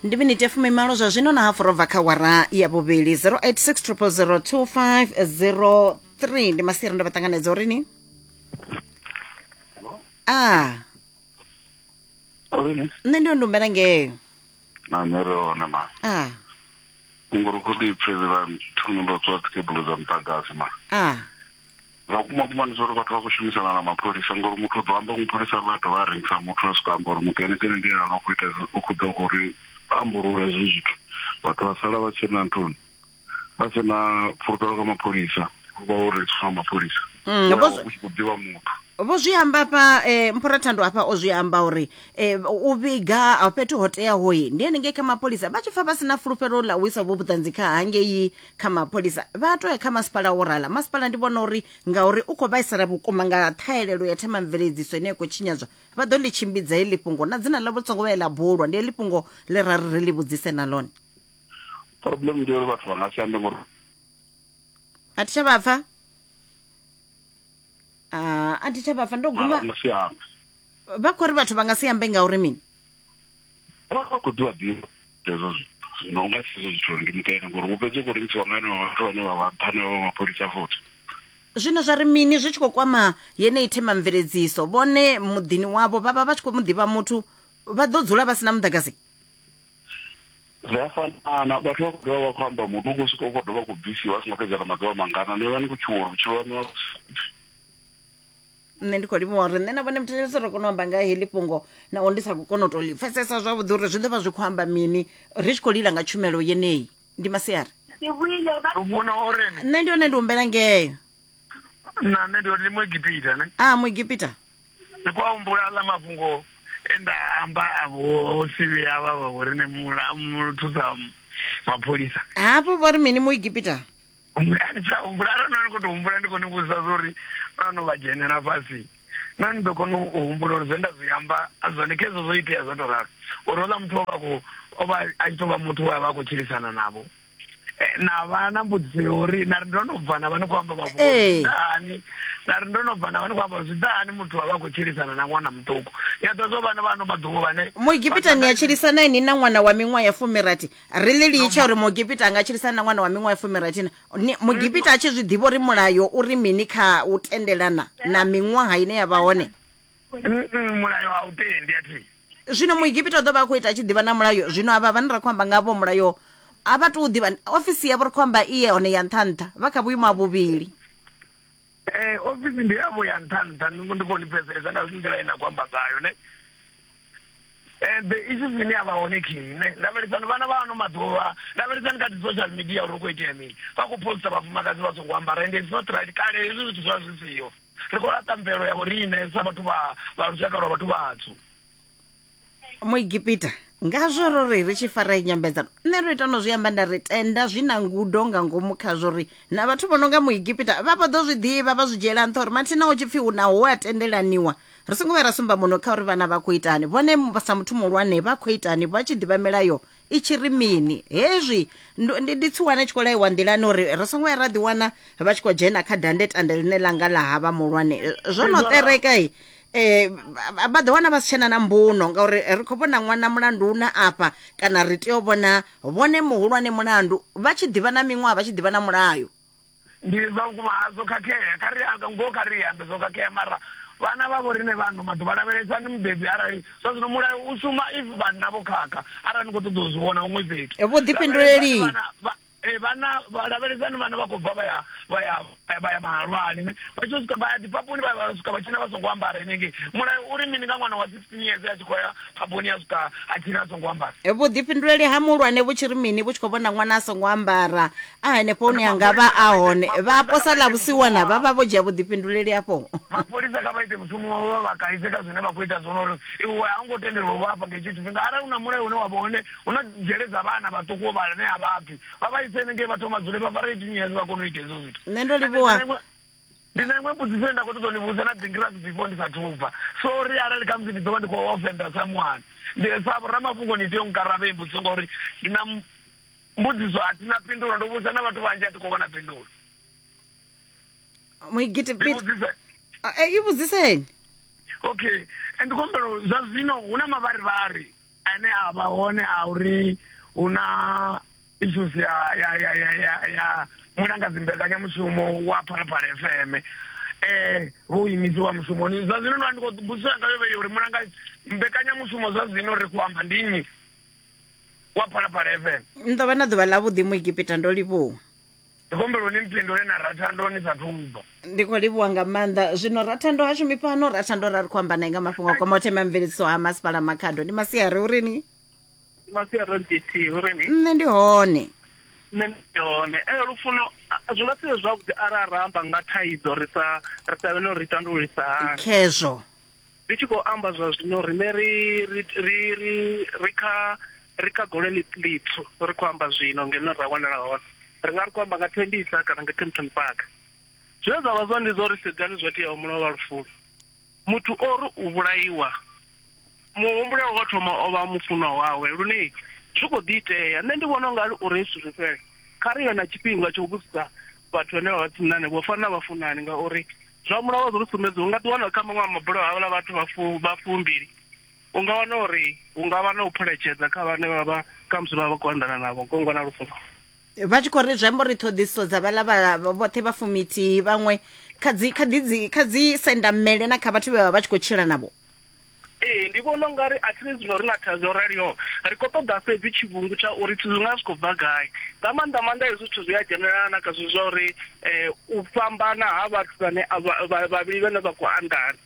Ndi miniti ya 18 zwa zwino na hafu robva kha wara ya vhuvhili. 086 0002503 ndi masiari, ndo vha ṱanganedza uri ni a Rini? Nṋe ndi ndumbela ngeyo. Na nṋe ri hone ma. A Ngori khou ḓi pfhe vha thungo ndo tswa dzikhebulu dza muḓagasi ma. A Zwa kuma kuma ndi zwa uri vhathu vha khou shumisana na mapholisa, ngori muthu u ḓo amba mupholisa vha dovha a rengisa muthu a swika amba uri muthu ene kene ndi ene a khou ita, u khou ḓa uri ambulule hezwi zwithu. Vhathu vha sala vha tshi na nthuni, vha si na fulufhelo kha mapholisa, vha u rengiswa nga mapholisa. U tshi khou ḓivha muthu. Vho zwi amba afha Mphorathando afha o zwi amba uri u vhiga fhethu ho teaho ndi henengei kha mapholisa. Vha tshi pfa vha si na fulufhelo ḽa u isa vho vhuṱanzi kha hangei kha mapholisa, vha to ya kha masipala wo rala. Masipala ndi vhona uri ngauri u khou vhaisala vhukuma nga ṱhahelelo ya themamveledziso ine ya khou tshinyadzwa, vha ḓo ḽi tshimbidza heḽi fhungo na dzina ḽavho songo vhuya ḽa bulwa. Ndi heḽi fhungo ḽe ra ri ri ḽi vhudzise na ḽone. Problem ndi uri vhathu vha nga si ambe ngori A thi tsha vha pfa, a thi tsha vha pfa, ndo guma. Vha nga si ambe. Vha khou ri vhathu vha nga si ambe ngauri mini? Vha khou ḓivha ḓivha hezwo zwithu. Zwino u nga si hezwo zwithu uri ndi mutende ngori u fhedza u khou rengisiwa nga henevho vhathu vhane vha vha nṱha hanevho mapholisa futhi. Zwino zwa ri mini zwi tshi khou kwama yeneyi themamveledziso? Vhone muḓini wavho vha vha vha tshi khou mu ḓivha muthu, vha ḓo dzula vha si na muḓagasi? Zwi a fanana, vhathu vha khou dovha vha khou amba muthu u khou swika u khou dovha khou bvisiwa a songo fhedza na maḓuvha mangana, ni vha ni khou tshuwa uri vhutshilo haṋu a. Nṋe ndi khou livhuwa uri nṋe na vhone muthetshelesi ro kona u amba nga heḽi fhungo, naho ndi sa khou kona u tou ḽi pfesesa zwavhuḓi uri zwi ḓo vha zwi khou amba mini ri tshi khou lila nga tshumelo yeneyi. Ndi masiari. Nṋe ndi hone, ndi humbela ngeyo. Na nṋe ndi hone, ndi Muegipita ne. A Muegipita. Ndi khou a humbula aḽa mafhungo e nda amba a vho sivhi avha vha vho riṋe muthusa mapholisa. Hafho vho ri mini Muegipita? A ni tsha humbula, arali no ni khou tou humbula ndi khou ni vhudzisa zwa uri no no vha dzhenela fhasi na ni ḓo kona u humbula uri zwe nda zwi amba a zwone khezwo zwo itea zwo tou ralo, uri houḽa muthu o vha khou o vha a tshi tou vha muthu we a vha a khou tshilisana navho. Na vha na mbudziso ya uri na ri ndo no bva na vha ni khou amba mafhungo zwi ḓa hani, na ri ndo no bva na vha ni khou amba zwi ḓa hani muthu a vha a khou tshilisana na ṅwana muṱuku. Ya ḓo zwo vhana vha ano maḓuvha vhane Muegipita ni a tshilisana ini na ṅwana wa miṅwaha ya 60? Ri ḽi litshe uri Muegipita a nga tshilisana na ṅwana wa miṅwaha ya 60 na? Muegipita a tshi zwi ḓivha uri mulayo uri mini kha u tendelana na miṅwaha ine ya vha hone? Mulayo a u tendi a thi. Zwino Muegipita u ḓo vha a khou ita a tshi ḓivha na mulayo. Zwino avha vhane ra khou amba ngavho mulayo a vha tou ḓivha. Ofisi yavho ri khou amba iye hone ya nṱha nṱha, vha kha vhuimo ha vhuvhili. Ofisi ndi yavho ya nṱha nṱha, ndi khou ni pfesesa nga nḓila ine na khou amba ngayo ne. The issues ine ya vha hone khi ne, lavhelesani vhana vha ano maḓuvha, lavhelesani kha dzi social media uri hu khou itea mini. Vha khou poster vhafumakadzi vha songo ambara and it's not right. Kale hezwi zwithu zwa zwi siho. Ri khou laṱa mvelo ya vhoriṋe sa vhathu vha vha lushaka lwa vhathu vhatswu. Muegipita ngazwo ro ri ri tshi fara nyambedzano, nṋe ro ita no zwi amba nda ri tenda zwi na ngudo nga ngomu khazwo uri na vhathu vho no nga Muegipita vha vho ḓo zwi ḓivha, vha zwi dzhiela nṱha uri mathina hu tshi pfhi hu na hu a tendelaniwa, ri songo vhuya ra sumba muno kha uri vhana vha khou itani, vhone sa muthu muhulwane vha khou itani vha tshi ḓivha milayo i tshi ri mini. Hezwi ndi ndi tsiwana i tshi khou laiwa nḓilani uri ri songo ya ra ḓiwana vha tshi khou dzhena kha dandetande ḽine ḽa nga ḽa havha muhulwane zwo no ṱereka vha ḓo wana vha si tshena na mbuno ngauri ri khou vhona ṅwana mulandu na afha, kana ri tea u vhona vhone muhulwane mulandu vha tshi ḓivha na miṅwaha, vha tshi ḓivha na mulayo. Ndi zwa vhukuma ha zwo khakhea, kha ri ngoho kha ri ambe zwo khakhea, mara vhana vha vho riṋe vha ano maḓuvha lavhelesani mubebi arali zwa zwino mulayo u shuma if vhanna vho khakha, arali ni khou ṱoḓa u zwi vhona huṅwe fhethu. Vhuḓifhinduleli. Vhana lavhelesani vhana vha khou bva vha ya vha ya vha ya mahalwani vha tshi swika vha ya dzipapuni vha swika vha tshina vha songo ambara henengei. Mulayo uri mini nga ṅwana wa 16 years a tshi khou ya phaboni ya swika a tshina a songo ambara? Vhuḓifhinduleli ha muhulwane vhu tshi ri mini vhu tshi khou vhona ṅwana a songo ambara a henefho hune a nga vha a hone? Vha posa ḽa vhusiwana vha vha vho dzhia vhuḓifhinduleli afho. Mapholisa kha vha ite mushumo wavho, vha vha kaidze kha zwine vha khou ita zwone uri iwe a u ngo tendelwa u vha afha nga hetsho tshifhinga. Arali hu na mulayo une wa vha hone, hu na dzhele dza vhana vhaṱuku vhane a vha pfi, vha vha ise henengei vha thoma dzule vha fare 18 years vha kone u ita hezwo zwithu. Nṋe ndo livhuwa. Ndi na iṅwe mbudziso ine nda khou ṱoḓa u ni vhudza na ḓingirasi before ndi sathu bva. Sorry arali khamusi ndi ḓo vha ndi khou offender someone. Ndi sa vhoramafhungo ni tea u nkaravha heyi mbudziso ngauri ndi na mbudziso a thi na phindulo, ndo vhudza na vhathu vhanzhi a thi khou vhona phindulo. Muigiti Pete, i vhudziseni. Okay, ndi khou humbela zwa zwino hu na mavharivhari. Ane a vha hone a uri hu na issues ya ya ya ya ya ya mulanga dzimbekanyamushumo wa Phalaphala FM vho imisiwa mushumoni zwa zwino ndi khou mbudziso yanga yo vhe uri mulanga mbekanyamushumo zwa zwino ri khou amba ndi nnyi wa Phalaphala FM. Ni ḓo vha na ḓuvha ḽavhuḓi Muegipita, ndo livhuwa. Ndi khou humbela uri ni mpindule na Rathando ni sathu bva. Ndi khou livhuwa nga maanḓa. Zwino Rathando ha shumi fhano, Rathando ra ri khou amba nae nga mafhungo a kwamaho themamveledziso ha masipala Makhado. Ndi masiari uri ni? Ndi masiari nthihi uri ni? Nṋe ndi hone. Nṋe ndi hone. Ee lufuno zwi nga si vhe zwavhuḓi arali ra amba nga thaidzo ri sa ri sa vhe na uri ri tandululisa hani. Khezwo. Ndi tshi khou amba zwa zwino riṋe ri ri ri ri ri kha ri kha gole ḽitswu ri khou amba zwino ngeno ra wanala hone. Ri nga ri khou amba nga Tembisa kana nga Kempton Park. Zwine zwa vha zwone ndi zwa uri sedzani zwo teaho mulovha lufuni. Muthu o ri u vhulaiwa muhumbulelwa wa thoma o vha mufunwa wawe lune zwi khou ḓi itea. Nṋe ndi vhona ungari uri hezwi zwithu zwi fhele kha ri vhe na tshifhinga tsha u vhudzisa vhathu vhane vha vha tsini na hanevho u fana na vhafunani ngauri zwa mulayo zwo ri sumbedza u nga ḓi wana kha maṅwe a mabulayo havhaḽa vhathu vha fumbili u nga wana uri hu nga vha na u phuletshedza kha vhane vha vha khamusi vha vha khou anḓana navho ngongwa na lufuno. Vha tshi khou ri zwi amba uri ṱhoḓisiso dza vhaḽa vha vhoṱhe vha fumithihi vhaṅwe kha dzi kha dzi kha dzi sendamele na kha vhathu vhe vha vha tshi khou tshila navho. Ee, ndi vhona ungari a thi ri zwino ri na thaidzo yo raliho, ri khou ṱoḓa fhedzi tshivhungu tsha uri zwithu zwi nga zwi khou bva gai. Nga maanḓa maanḓa hezwi zwithu zwi a dzhenelana na kha zwithu zwa uri u fhambana ha vhathu vhane vhavhili vhane vha khou anḓana.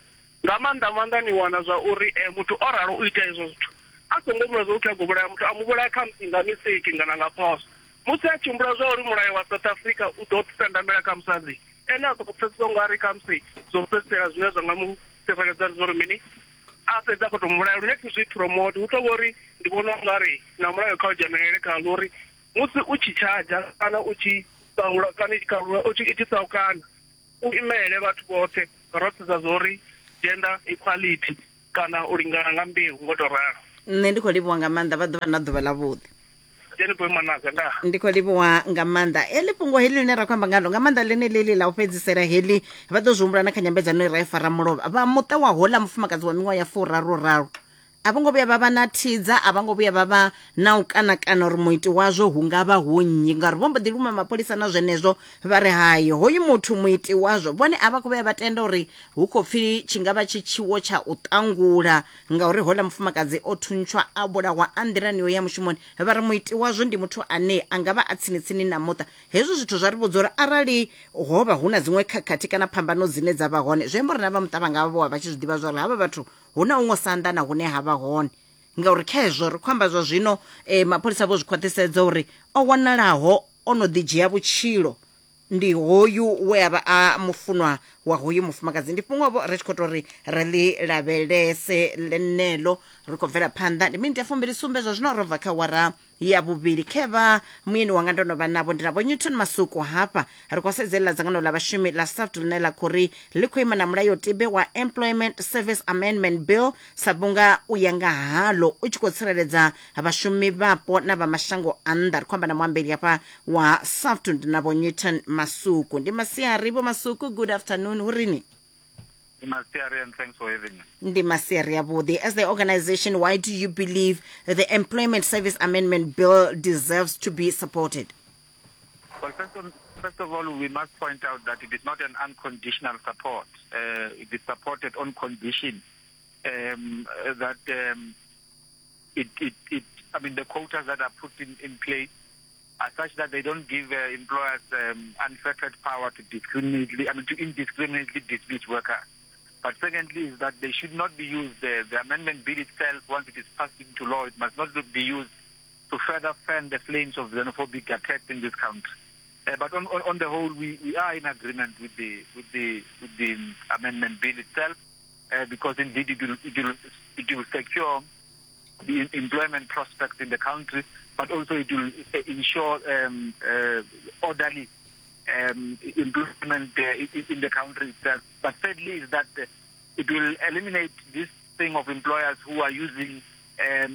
Nga maanḓa maanḓa ni wana zwa uri muthu o ralo u ita hezwo zwithu a songo humbula zwa uri u khou vhulaya muthu, a mu vhulaya khamusi nga mistake kana nga phoswo. Musi a tshi humbula zwa uri mulayo wa South Africa u ḓo sendamela kha musadzi, ene a sokou pfesesa u nga ri khamusi zwo fhedzisela zwine zwa nga mu tsireledza ndi zwa uri mini, a fhedza a khou tou mu vhulaya lune thi zwi promote. Hu tou vha uri ndi vhona u nga ri na mulayo kha u dzhenelele khaḽo uri musi u tshi tshadzha kana u tshi ṱahula kana i tshi kalula u tshi saukana u imele vhathu vhoṱhe ro sedza zwa uri gender equality kana u lingana nga mbeu ngo tou ralo. Nṋe ndi khou livhuwa nga maanḓa, vha ḓo vha na ḓuvha ḽavhuḓi. Jeni boy manaka nda. Ndi khou livhuwa nga maanḓa. Heḽi fhungo heḽi ḽine ra khou amba ngalo nga maanḓa ḽeneḽi ḽi ḽa u fhedzisela heḽi vha ḓo zwi humbula na kha nyambedzano ye ra i fara mulovha. Vha muṱa wa hoḽa mufumakadzi wa miṅwaha ya furaru raru a vho ngo vhuya vha vha na thidza, a vha ngo vhuya vha vha na u kanakana uri muiti wazwo hu nga vha hu nnyi, ngauri vho mbo ḓi luma mapholisa na zwenezwo vha ri hai hoyu muthu muiti wazwo. Vhone a vha khou vhuya vha tenda uri hu khou pfi tshi nga vha tshi tshiwo tsha u ṱangula ngauri houḽa mufumakadzi o thuntshwa a vhulahwa a nḓilani yo ya mushumoni. Vha ri muiti wazwo ndi muthu ane a nga vha a tsini-tsini na muṱa. Hezwi zwithu zwa ri vhudza uri arali ho vha hu na dziṅwe khakhathi kana phambano dzine dza vha hone, zwi amba uri na vha muṱa vha nga vha vho vha vha tshi zwi ḓivha zwa uri havha vhathu hu na huṅwe u sa anḓana hune ha vha hone. Ngauri kha hezwo ri khou amba zwa zwino, mapholisa vho zwi khwaṱhisedza uri o wanalaho o no ḓi dzhia vhutshilo ndi hoyu we a vha a mufunwa wa hoyu mufumakadzi. Ndi fhungo-vho ri tshi khou tou ri ri ḽi lavhelese ḽeneḽo. Ri khou bvela phanḓa, ndi miniti ya fumbili sumbe zwa zwino ro bva kha awara ya vhuvhili. Khevha muyeni wanga ndo no vha navho, ndi na Vho Newton Masuku hafha. Ri khou sedzelela dzangano ḽa vhashumi ḽa SAFT ḽine ḽa khou ri ḽi khou ima na mulayotibe wa Employment Service Amendment Bill sa vhunga u ya nga haḽo u tshi khou tsireledza vhashumi vhapo na vha mashango a nnḓa. Ri khou amba na muambeli hafha wa SAFT, ndi na Vho Newton Masuku. Ndi masiari Vho Masuku, good afternoon, hu rini? Ndi masiari and thanks for having me. Ndi masiari avhuḓi. As the organization, why do you believe the Employment Service Amendment Bill deserves to be supported? Well, first of all, we must point out that it is not an unconditional support. It is supported on condition that the quotas that are put in place are such that they don't give employers unfettered power to indiscriminately dismiss workers. But secondly is that they should not be used, the amendment bill itself, once it is passed into law, it must not be used to further fan the flames of xenophobic attacks in this country. But on the whole, we are in agreement with the amendment bill itself, because indeed it will secure the employment prospects in the country, but also it will ensure orderly employment in the country itself. But thirdly is that it will eliminate this thing of employers who are using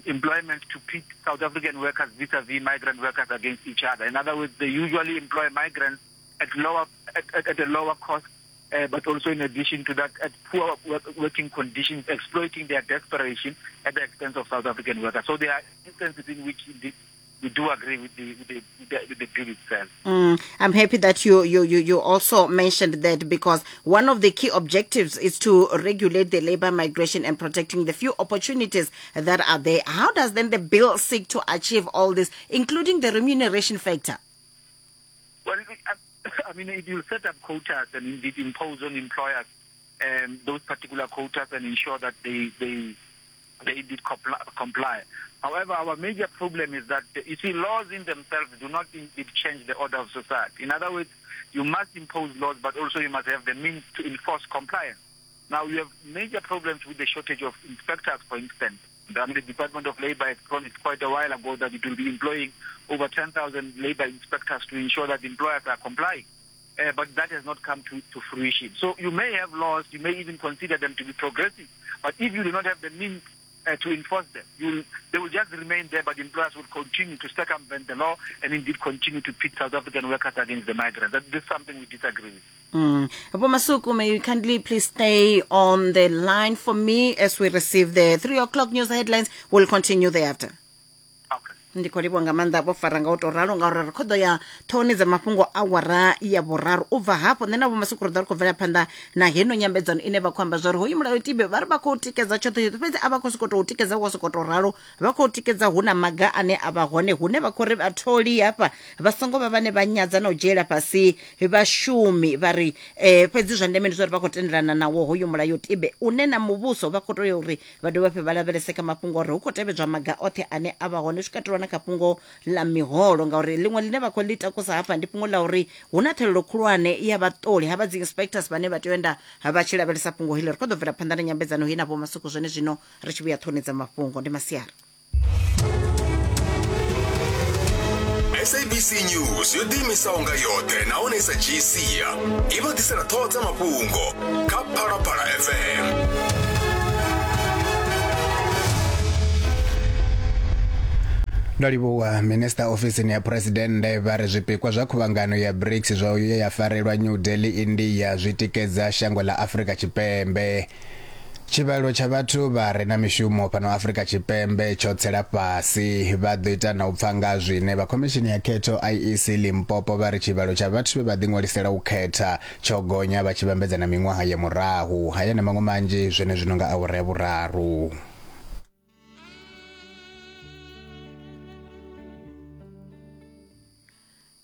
employment to pit South African workers vis-a-vis migrant workers against each other. In other words, they usually employ migrants at a lower cost But also in addition to that, at poor working conditions, exploiting their desperation at the expense of South African workers. So there are instances in which indeed we do agree with the bill itself. I'm happy that you also mentioned that, because one of the key objectives is to regulate the labor migration and protecting the few opportunities that are there. How does then the bill seek to achieve all this, including the remuneration factor? Well, I mean, it will set up quotas and indeed impose on employers those particular quotas and ensure that they indeed comply. However, our major problem is that, you see, laws in themselves do not indeed change the order of society. In other words, you must impose laws, but also you must have the means to enforce compliance. Now, you have major problems with the shortage of inspectors, for instance. I mean, the Department of Labor has promised quite a while ago that it will be employing over 10,000 labor inspectors to ensure that employers are complying. But that has not come to fruition. So you may have laws, you may even consider them to be progressive, but if you do not have the means to enforce them, they will just remain there, but employers will continue to circumvent the law and indeed continue to pit South African workers against the migrants. That is something we disagree with. Vho Masuku, may you kindly please stay on the line for me as we receive the 3 o'clock news headlines. We'll continue thereafter. Okay. Ndi khou livhuwa nga maanḓa vho fara nga u tou ralo, ngauri ri khou ḓo ya ṱhohoni dza mafhungo awara ya vhuraru. U bva hafho nṋe na Vho Masuku ri ḓo ri khou bvela phanḓa na heno nyambedzano ine vha khou amba zwa uri hoyu mulayotibe vha ri vha khou tikedza tshoṱhe tshoṱhe, fhedzi a vha khou sokou tou tikedza wo sokou tou ralo, vha khou tikedza hu na maga ane a vha hone, hune vha khou ri vhatholi hafha vha songo vha vhane vha nyadza na u dzhiela fhasi vhashumi, vha ri fhedzi zwa ndeme ndi zwa uri vha khou tendelana nawo hoyu mulayotibe une na muvhuso vha khou tea uri vha dovhe hafhu vha lavhelese kha mafhungo uri hu khou tevhedzwa maga oṱhe ane a vha hone, zwi katelwa na kha fhungo ḽa miholo, ngauri ḽiṅwe ḽine vha khou ḽi takusa hafha ndi fhungo ḽa uri hu na thelelo khulwane ya vhaṱoli havha dzi inspectors vhane vha tea u enda vha tshi lavhelesa fhungo heḽi. Ri khou ḓo bvela phanḓa na nyambedzano hei na Vho Masuku zwone zwino ri tshi vhuya ṱhoni dza mafhungo. Ndi masiari. SABC News yo ḓiimisaho nga yoṱhe nahone i sa dzhii sia i vha ḓisela ṱhoho dza mafhungo kha Phalaphala FM. Ndo livhuwa. Minista ofisini ya Phuresidennde vha ri zwipikwa zwa khuvhangano ya BRICS zwa u ya farelwa New Delhi, India zwi tikedza shango ḽa Afrika Tshipembe. Tshivhalo tsha vhathu vha re na mishumo fhano Afrika Tshipembe tsho tsela fhasi. Vha ḓo ita na u pfa nga zwine vha khomishini ya khetho IEC Limpopo vha ri tshivhalo tsha vhathu vhe vha ḓiṅwalisela u khetha tsho gonya vha tshi vhambedza na miṅwaha ya murahu. Haya na maṅwe manzhi zwenezwino nga awara ya vhuraru.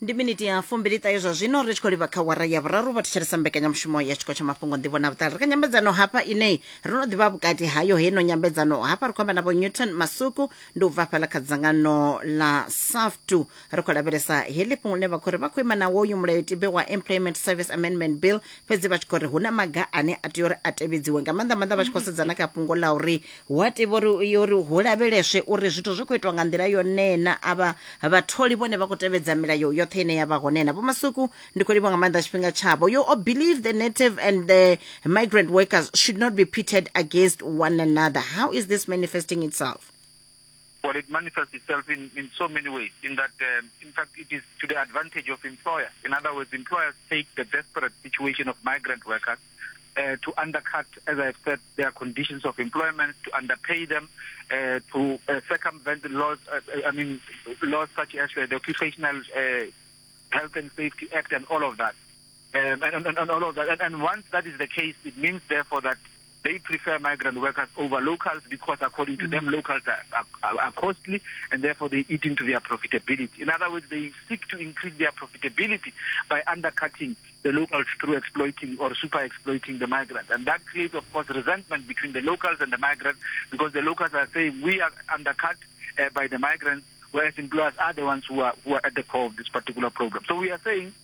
Ndi miniti ya fumbili ṱahe zwa zwino ri tshi khou livha kha wara ya vhuraru. Vha thetshelesa mbekanyamushumo ya tshiko tsha mafhungo nḓivho na vhuṱali. Ri kha nyambedzano hafha ine ro no ḓivha vhukati hayo heino nyambedzano hafha ri khou amba na Vho Newton Masuku, ndi u bva fhaḽa kha dzangano ḽa SAFTU. Ri khou lavhelesa heḽi fhungo ḽine vha khou ri vha khou ima na woyu mulayotibe wa Employment Service Amendment Bill, fhedzi vha tshi khou ri hu na maga ane a tea uri a tevhedziwe nga maanḓa maanḓa vha tshi khou sedzana kha fhungo ḽa uri hu a tea uri hu lavheleswe uri zwithu zwi khou itwa nga nḓila yone na avha vhatholi vhone vha khou tevhedza milayo yoṱhe ine ya vha hone na. Vho Masuku, ndi khou livhuwa nga maanḓa tshifhinga tshavho. You all believe the native and the migrant workers should not be pitted against one another. How is this manifesting itself? Well, it manifests itself in so many ways, in that, in fact, it is to the advantage of employers. In other words, employers take the desperate situation of migrant workers to undercut, as I've said, their conditions of employment, to underpay them, to circumvent laws, laws such as the Occupational Health and Safety Act and all of that. And all of that. And once that is the case, it means, therefore, that they prefer migrant workers over locals because, according to them, locals are costly, and therefore they eat into their profitability. In other words, they seek to increase their profitability by undercutting the locals through exploiting or super-exploiting the migrants. And that creates, of course, resentment between the locals and the migrants, because the locals are saying we are undercut by the migrants, whereas employers are the ones who are at the core of this particular problem. So we are saying,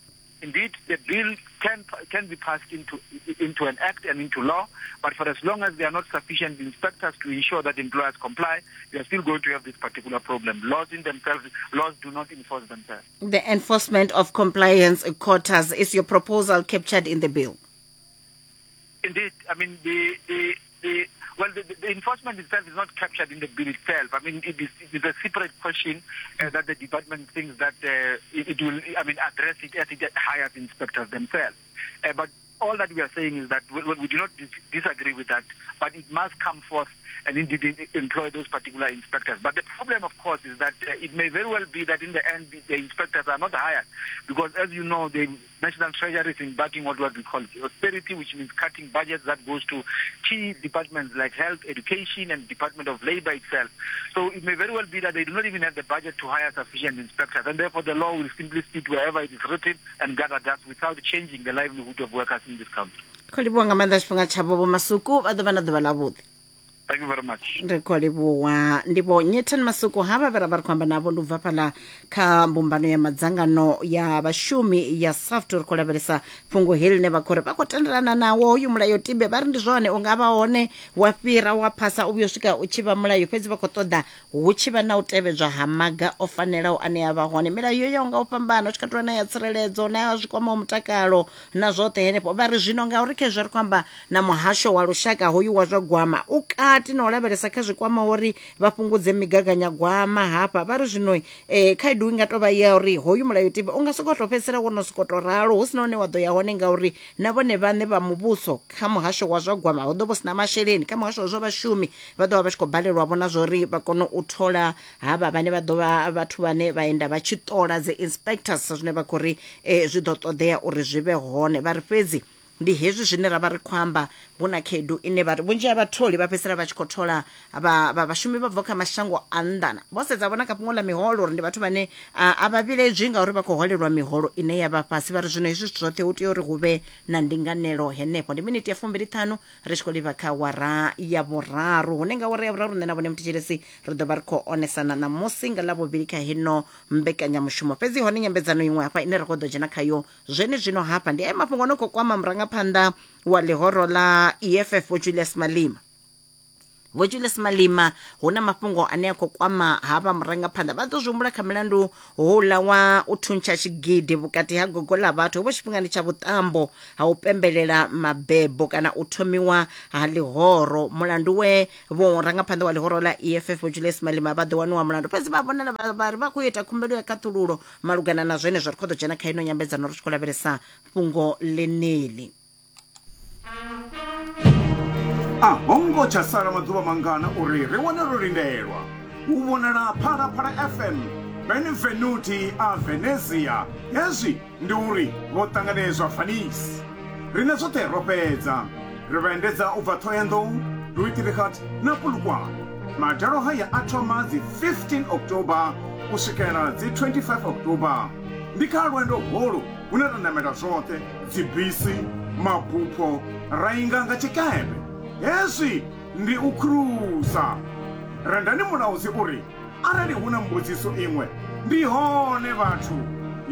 indeed, the bill can be passed into an act and into law, but for as long as there are not sufficient inspectors to ensure that employers comply, we are still going to have this particular problem. Laws in themselves, laws do not enforce themselves. The enforcement of compliance quotas, is your proposal captured in the bill? Indeed. I mean, the enforcement itself is not captured in the bill itself. I mean, it is a separate question that the department thinks that it will, address it as it hires inspectors themselves. But All that we are saying is that we, we do not dis disagree with that, but it must come forth and indeed employ those particular inspectors. But the problem, of course, is that uh, it may very well be that in the end the inspectors are not hired because, as you know, the National Treasury is embarking on what we call austerity, which means cutting budgets that goes to key departments like health, education, and Department of Labor itself. So it may very well be that they do not even have the budget to hire sufficient inspectors, and therefore the law will simply sit wherever it is written and gather dust without changing the livelihood of workers in this country. Khou livhuwa nga maanḓa tshifhinga tshavho vho Masuku vha ḓo vha na ḓuvha ḽavhuḓi. Thank you very much. Ri khou livhuwa ndi vho Nyethan Masuku havha vhe ra vha ri khou amba navho ndi u bva fhaḽa kha mbumbano ya madzangano ya vhashumi ya SAFT ri khou lavhelesa fhungo heḽi ḽine vha khou ri vha khou tendelana nawo hoyu mulayo tibe vha ri ndi zwone u nga vha hone wa fhira wa phasa u vhuya u swika u tshi vha mulayo fhedzi vha khou ṱoḓa hu tshi vha na u tevhedzwa ha maga o fanelaho ane a vha hone milayo yo yaho nga u fhambana hu tshi katelwa na ya tsireledzo na ya zwi kwamaho mutakalo na zwoṱhe henefho vha ri zwino ngauri khezwi ri khou amba na muhasho wa lushaka hoyu wa zwa gwama u kati na u lavhelesa kha zwi kwamaho uri vha fhungudze migaganyagwama hafha vha ri zwino eh, khaedu i nga tou vha ya uri hoyu mulayotibe u nga sokou tou fhedzisela wo no sokou tou ralo hu si na hune wa ḓo ya hone ngauri na vhone vhaṋe vha muvhuso kha muhasho wa zwa gwama hu ḓo vha hu si na masheleni kha muhasho wa zwa vhashumi vha ḓo vha vha tshi khou balelwa vhona zwa uri vha kone u thola havha vhane vha ḓo vha vhathu vhane vha enda vha tshi ṱola dzi inspectors zwine vha khou ri eh, zwi ḓo ṱoḓea uri zwi vhe hone vha ri fhedzi ndi hezwi zwine ra vha ri khou amba hu na khaedu ine vha ri vhunzhi ha vhatholi vha fhedzisela vha tshi khou thola vha vha vhashumi vha bva kha mashango a nnḓa na vho sedza vhona kha fhungo ḽa miholo uri ndi vhathu vhane a vha vhiledzwi ngauri vha khou holelwa miholo ine ya vha fhasi vha ri zwino hezwi zwithu zwoṱhe hu tea uri hu vhe na ndinganelo henefho ndi miniti ya 25 ri tshi khou livha kha wara ya vhuraru hune nga wara ya vhuraru nṋe na vhone muthetshelesi ri ḓo vha ri khou onesana ṋamusi nga ḽavhuvhili kha hino mbekanyamushumo fhedzi hone nyambedzano iṅwe hafha ine ra khou ḓo dzhena khayo zwenezwino hafha ndi aya mafhungo no khou kwama murangaphanḓa wa ḽihoro ḽa eff vho julius malima vho julius malima hu na mafhungo ane a khou kwama havha murangaphanḓa vha ḓo zwi humbula kha milandu houḽa wa u thuntsha tshigidi vhukati ha gogo ḽa vhathu hovho tshifhingani tsha vhuṱambo ha u pembelela mabebo kana u thomiwa ha ḽihoro mulandu we vho rangaphanḓa wa ḽihoro ḽa eff vho julius malima vha ḓo waniwa mulandu fhedzi vha vhonala vha ri vha khou ita khumbelo ya khaṱhululo malugana na zwenezwo ri khou ḓo dzhena kha ino nyambedzano ri tshi khou lavhelesa fhungo ḽeneḽi A ho ngo tsha sala maḓuvha mangana uri ri wane ro lindelwa u vhonala Phalaphala FM Benvenuti a Venezia. Hezwi ndi uri vho ṱanganedzwa Venice. Riṋe zwoṱhe ro fhedza. Ri vha endedza u bva Thohoyandou, Louis-Trichardt na Polokwane. Madalo haya a thoma dzi 15 October u swikela dzi 25 October. Ndi kha lwendo holu hune ra namela zwoṱhe, dzibisi, mabupho, ra inga nga tshikepe. Hezwi ndi u khurusa. Rendani Mulaudzi u ri, Arali hu na mbudziso iṅwe, ndi hone vhathu.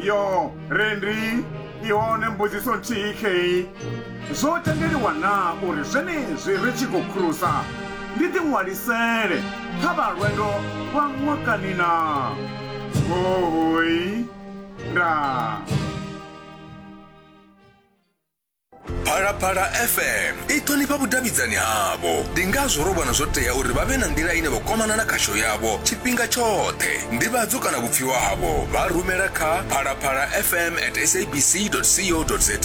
Yo, Rendi, i hone mbudziso nthihi khei. Zwo tendeliwa naa uri zwenezwi ri tshi khou khurusa ndi ḓiṅwalisele kha vha lwendo lwa ṅwakani naa? Hoooi, ndaa. Phalaphala FM i ṱhonifha vhudavhidzani havho. Ndi ngazwo ro vhona zwo tea uri vha vhe na nḓila ine vha kwamana na khasho yavho tshifhinga tshoṱhe. Nḓivhadzo kana vhupfiwa havho vha rumela kha phalaphala fm at sabc co za.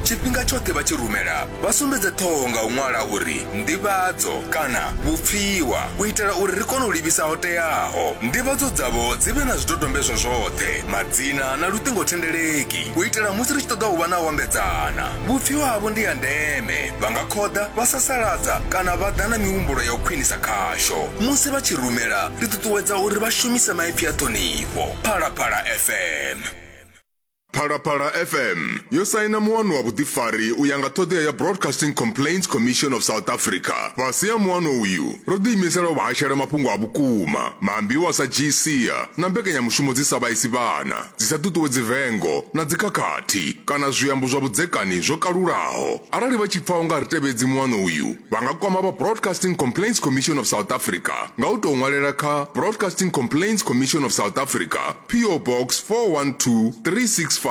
Tshifhinga tshoṱhe vha tshi rumela vha sumbedze ṱhoho nga u ṅwala uri nḓivhadzo kana vhupfiwa u itela uri ri kone u livhisa ho teaho. Nḓivhadzo dzavho dzi vhe na zwidodombedzwa zwoṱhe, madzina na luṱingothendeleki. U itela musi ri tshi ṱoḓa u vha na u ambedzana. Vhupfiwa havho ndi ha ndeme. Vha nga khoḓa, vha sasaladza kana vha ḓa na mihumbulo ya u khwinisa khasho. Musi vha tshi rumela, ri ṱuṱuwedza uri vha shumise maipfi a ṱhonifho. Phalaphala FM. Phalaphala FM yo saina muano wa vhuḓifari u ya nga ṱhoḓea ya Broadcasting Complaints Commission of South Africa. Fhasi ha muano uyu, ro ḓiimisela u vha hashela mafhungo a vhukuma, maambiwa a sa dzhii sia na mbekanyamushumo dzi sa vhaisi vhana. dzi sa ṱuṱuwedzi vengo na dzikhakhathi kana zwiambo zwa vhudzekani zwo kalulaho. Arali vha tshi pfa u nga ri tevhedzi muano uyu, vha nga kwama vha Broadcasting Complaints Commission of South Africa nga u tou ṅwalela kha Broadcasting Complaints Commission of South Africa, PO Box 412365,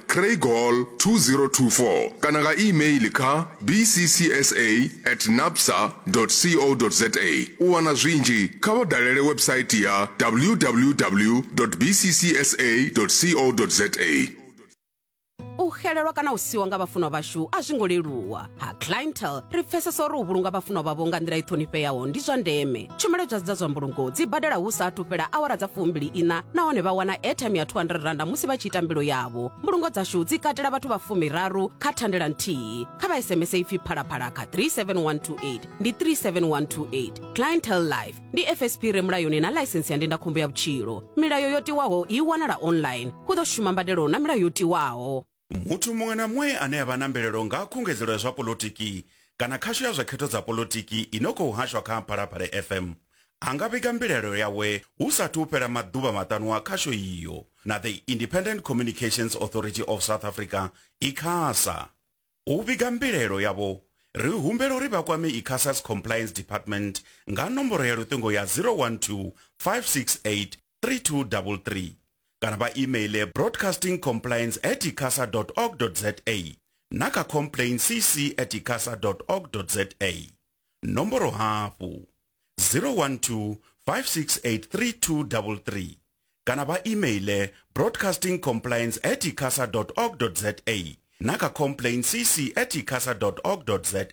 Craighall 2024 kana nga e-mail kha bccsa at nabsa co za. U wana zwinzhi, kha vha dalele website ya www bccsa co za. U xelelwa kana u siwa nga vhafunwa vhashu a zwi ngo leluwa. Ha Clientele ri pfesesa uri u vhulunga vhafunwa vhavho nga nḓila i ṱhonifheaho ndi zwa ndeme. Tshumelo dza dza zwa mbulungo dzi badela hu sa athu fhela awara dza fumbili iṋa nahone vha wana airtime ya 200 randa musi vha tshi ita mbilo yavho. Mbulungo dzashu dzi katela vhathu vha fumiraru kha thandela nthihi. Kha vha SMS ipfi Phalaphala kha 37128 ndi 37128. Clientele Life ndi FSP re mulayoni na ḽaisensi ya ndindakhombo ya vhutshilo. Milayo yo tiwaho i wanala online. Hu ḓo shuma mbadelo na milayo yo tiwaho. Muthu muṅwe na muṅwe ane a vha na mbilaelo nga ha khungedzelo ya zwa poḽotiki kana khasho ya zwa khetho dza poḽotiki i no khou hashwa kha Phalaphala FM a nga vhiga mbilaelo yawe hu sa athu u fhela maḓuvha maṱanu a khasho iyo na The Independent Communications Authority of South Africa, ICASA. U vhiga mbilaelo yavho, ri humbela uri vha kwame ICASA's Compliance Department nga nomboro ya luṱingo ya 012 568 3233 kana vha imeiḽe broadcastingcompliance at icasa org za na kha complaintcc at icasa org za. Nomboro hafhu 012 568 3233 kana vha imeiḽe broadcastingcompliance at icasa org za na kha complaintcc at icasa org za.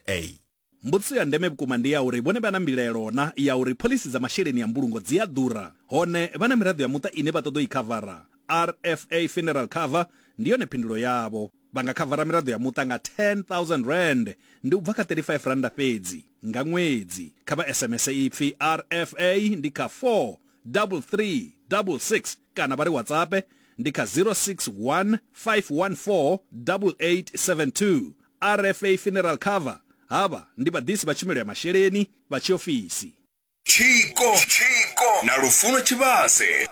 Mbudziso ya ndeme vhukuma ndi ya uri vhone vha na mbilaelo na ya uri phoḽisi dza masheleni a mbulungo dzi a ḓura, hone vha na miraḓo ya muṱa ine vha ṱoḓa u i khavara. RFA Funeral Cover ndi yone phindulo yavho. Vha nga khavara miraḓo ya muṱa nga R10,000, ndi u bva kha R35 fhedzi nga ṅwedzi. Kha vha SMS ipfi RFA ndi kha 43366 kana vha ri WhatsApp ndi kha 061 514 8872. RFA Funeral Cover, Havha ndi vhaḓisi vha tshumelo ya masheleni vha tshiofisi. Tshiko na Lufuno Tshivhase.